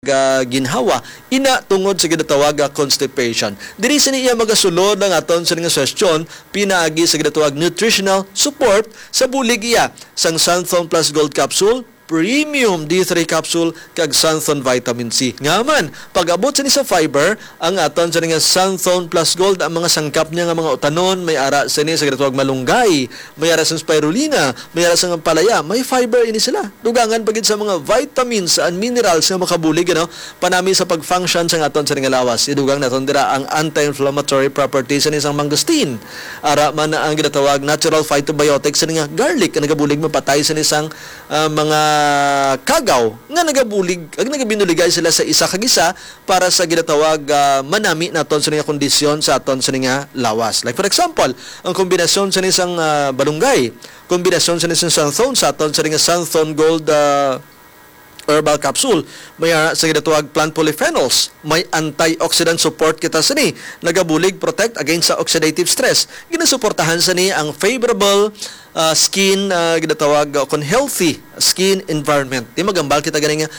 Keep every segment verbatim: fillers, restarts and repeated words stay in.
ah, ginhawa. Ina tungod sa ginatawag nga constipation. Diri sini iya magasulod ang aton sini nga suhestyon pinaagi sa ginatawag nutritional support sa bulig iya sang Xanthone Plus Gold Capsule, Premium D three Capsule, kag Xanthone Vitamin C. Nga man, pag-abot sini sa fiber, ang aton sini nga Xanthone Plus Gold, ang mga sangkap niya nga mga utanon, may ara sini sa ginatawag malunggay, may ara sa spirulina, may ara sa palaya, may fiber ini sila. Dugangan pa gid sa mga vitamins and minerals nga makabulig, ano, panami sa pag-function sa aton sini nga lawas. Idugang naton dira ang anti-inflammatory properties sini sang mangosteen. Ara man na ang ginatawag natural phytobiotics sini nga garlic, nga nagabulig mapatay sini sang, ah, mga kagaw nga nagabulig, ag nagabinuligay sila sa isa kag isa para sa ginatawag, ah, manami naton sini nga kondisyon sa aton sini nga lawas. Like for example, ang kombinasyon sini sang, ah, balunggay, kombinasyon sini sang Xanthone sa aton sini nga Xanthone Gold, ah, herbal capsule. May, ah, sa ginatawag plant polyphenols. May antioxidant support kita sini. Nagabulig protect against sa oxidative stress. Ginasuportahan sini ang favorable, ah, skin, ah, ginatawag, ah, kon healthy skin environment. Di magambal kita gani nga,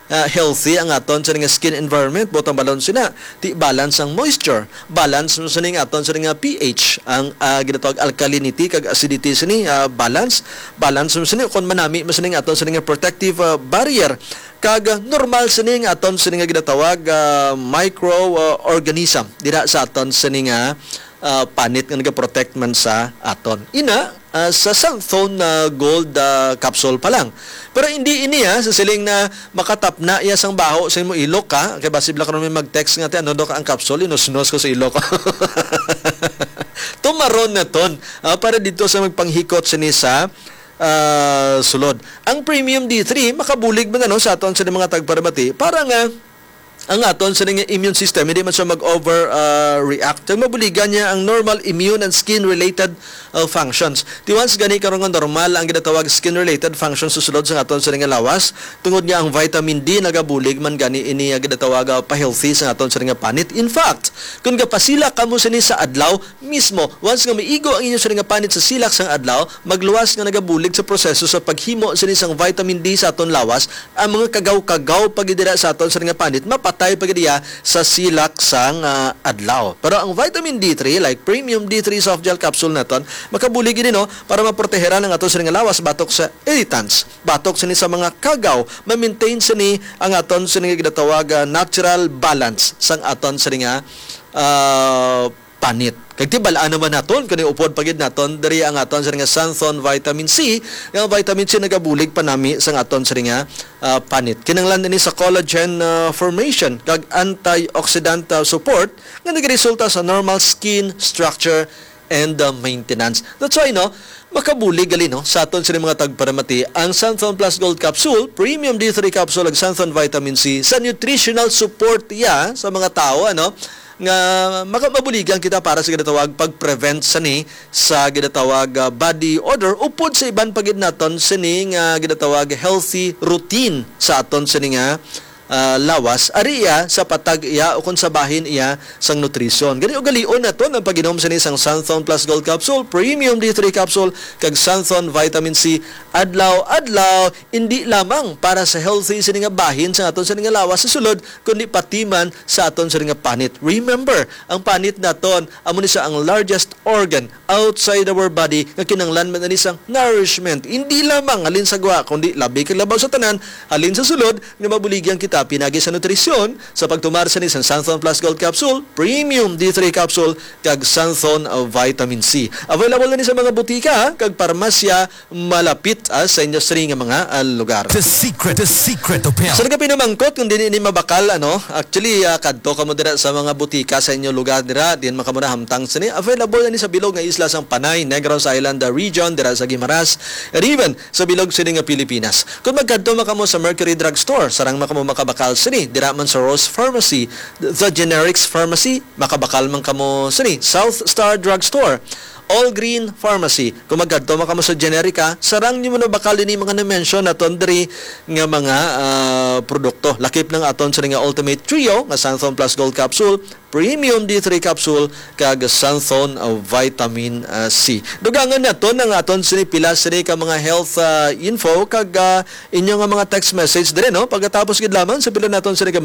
ah, healthy ang aton sini nga skin environment. Butang balon sina. Ti balance ang moisture. Balance man sini nga aton sini nga pH, ang, ah, ginatawag alkalinity kag acidity sini, ah, balance. Balance man sini kon manami man sini nga aton sini nga protective, ah, barrier. Kag, ah, normal sini nga aton sini nga ginatawag, ah, micro, ah, organism dira sa aton sini nga, ah, panit nga nagaprotect man sa aton. Ina, ah, sa Xanthone, ah, Gold, ah, capsule pa lang. Pero hindi ini, ah, sa siling na makatapna iya sang baho sa imo ilok, ha? Kay basi bala karon may mag-text nga, "Ti, ano daw ka ang capsule? Inusnos ko sa ilok." Tumaron naton, ah, para dito sa magpanghikot sini sa, ah, sulod. Ang Premium D three, makabulig man, ano, sa aton sa mga tagparamati para nga ang aton sini nga immune system, hindi man siya mag-over, ah, react. Kag mabuligan niya ang normal immune and skin-related, ah, functions. Ti once gani karon nga normal ang ginatawag skin-related functions sa sulod sa aton sini nga lawas, tungod nga ang vitamin D nagabulig man gani ini nga ginatawag, ah, pa-healthy sa aton sini nga panit. In fact, kung gapasilak kamo sini sa adlaw, mismo, once nga maigo ang inyo sini nga panit sa silak sang adlaw, magluwas nga nagabulig sa proseso sa paghimo sini sang vitamin D sa aton lawas, ang mga kagaw-kagaw pa gid dira sa aton sini nga panit, mapatay pa gid iya sa silak sang, ah, adlaw. Pero ang vitamin D three, like Premium D three Soft Gel Capsule naton, makabulig gid, no, para maproteheran ang aton sini nga lawas batok sa irritants, batok sini sa mga kagaw, ma-maintain sini ang aton sini nga ginatawag, ah, natural balance sang aton sini nga, ah, panit. Kag tibal-an naman naton, kani upod pa gid naton diri ang aton sini nga Xanthone Vitamin C. Nga ang vitamin C nagabulig panami sang aton sini nga, ah, panit. Kinahanglan ini sa collagen, ah, formation kag antioxidant, ah, support nga nagaresulta sa normal skin structure and, ah, maintenance. That's why, no, makabulig gali, no, sa aton sini mga tagparamati ang Xanthone Plus Gold Capsule, Premium D three Capsule, ug Xanthone Vitamin C sa nutritional support iya sa mga tawo, ano, nga maka-, mabuligan kita para sa ginatawag pag-prevent sani sa ginatawag, ah, body odor, upod sa iban pa gid naton sini nga ginatawag healthy routine sa aton sini nga, ah, lawas. Ari iya sa patag iya o kung sa bahin iya sang nutrisyon. Gani ugalion naton ang pag-inom sini sang Xanthone Plus Gold Capsule, Premium D three Capsule, kag Xanthone Vitamin C adlaw-adlaw, indi lamang para sa healthy sini nga bahin sa aton sini nga lawas sa sulod, kundi pati man sa aton sini nga panit. Remember, ang panit naton amo ni sa ang largest organ outside our body nga kinahanglan man ani sang nourishment, hindi lamang halin sa gwa, kundi labi kag labaw sa tanan, halin sa sulod, nga mabuligyan kita pinagi sa nutrisyon sa pagtumar sini sang Xanthone Plus Gold Capsule, Premium D three Capsule, kag Xanthone, uh, Vitamin C. Available na ni sa mga butika kag parmasya malapit, ah, sa inyo sini nga mga, ah, lugar. The secret, the secret of health. Sa nagapinamangkot kung dili ni mabakal, ano, actually, ah, kadto kamo dira sa mga butika sa inyo lugar dira, diin man kamo nahamtang sini. Available na ni sa bilog nga isla sang Panay, Negros Island, ah, region, dira sa Guimaras, and even sa bilog sini nga Pilipinas. Kung magkadto man kamo sa Mercury Drug Store, sarang man kamo makabakal sini, dira man sa Rose Pharmacy, The Generics Pharmacy, makabakal man kamo sini, South Star Drug Store, All Green Pharmacy. Kung magkadto man kamo sa generika, sarang nimo na bakal ini mga na-mention naton diri nga mga ah, produkto. Lakip ng aton sini nga Ultimate Trio nga Santhon Plus Gold Capsule, Premium D three Capsule, kag Santhon ah, Vitamin ah, C. Dugangan naton ang aton sini pila sini ka mga health ah, info kag ah, inyo nga mga text message diri, no? Pagkatapos gid lamang sa pila naton sini ka